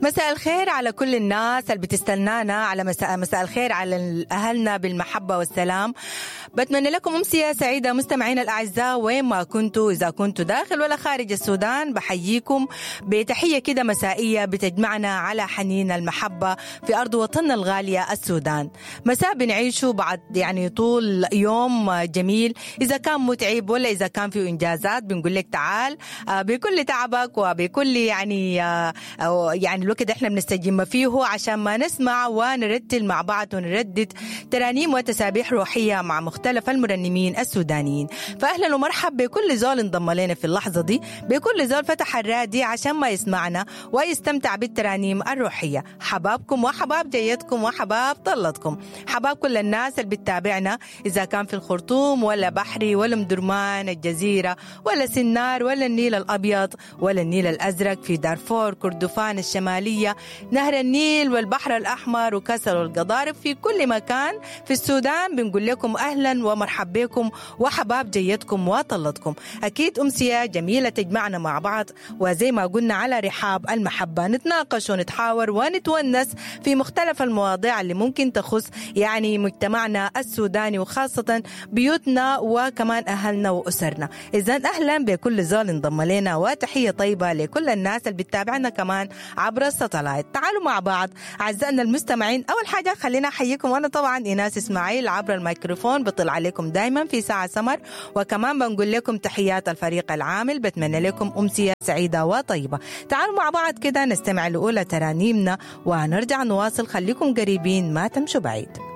مساء الخير على كل الناس اللي بتستنانا، على مساء الخير على أهلنا بالمحبة والسلام. بتمنى لكم أمسية سعيدة مستمعينا الأعزاء وين ما كنتوا، إذا كنتوا داخل ولا خارج السودان. بحييكم بتحية كده مسائية بتجمعنا على حنين المحبة في أرض وطننا الغالية السودان. مساء بنعيشه بعد يعني طول يوم جميل، إذا كان متعب ولا إذا كان فيه إنجازات بنقول لك تعال بكل تعبك وبكل يعني الوقت احنا بنستجم فيه عشان ما نسمع ونرتل مع بعض ونردد ترانيم وتسابيح روحية مع مختلف المرنمين السودانيين. فأهلا ومرحب بكل زول انضم لنا في اللحظة دي، بكل زول فتح الرادي عشان ما يسمعنا ويستمتع بالترانيم الروحية. حبابكم وحباب جيتكم وحباب طلتكم، حباب كل الناس اللي بتتابعنا إذا كان في الخرطوم ولا بحري ولا مدرمان الجزيرة ولا سنار ولا النيل الأبيض ولا النيل الأزرق، في دارفور، كردفان الشمالية، نهر النيل والبحر الأحمر وكسل والقضارف، في كل مكان في السودان بنقول لكم أهلا ومرحب بكم وحباب جيتكم وطلتكم. أكيد أمسية جميلة تجمعنا مع بعض، وزي ما قلنا على رحاب المحبة نتناقش ونتحاور ونتونس في مختلف المواضيع اللي ممكن تخص يعني مجتمعنا السوداني وخاصة بيوتنا وكمان أهلنا وأسرنا. إذن أهلا بكل زول انضم لنا، وتحية طيبة لكل الناس اللي بتتابعنا كمان عبر الساتلايت. تعالوا مع بعض أعزائنا المستمعين. أول حاجة خلينا أحييكم، وأنا طبعا إيناس إسماعيل عبر الميكروفون بطل عليكم دايما في ساعة سمر، وكمان بنقول لكم تحيات الفريق العامل. بتمنى لكم أمسية سعيدة وطيبة. تعالوا مع بعض كده نستمع لأولى ترانيمنا ونرجع نواصل. خليكم قريبين ما تمشوا بعيد.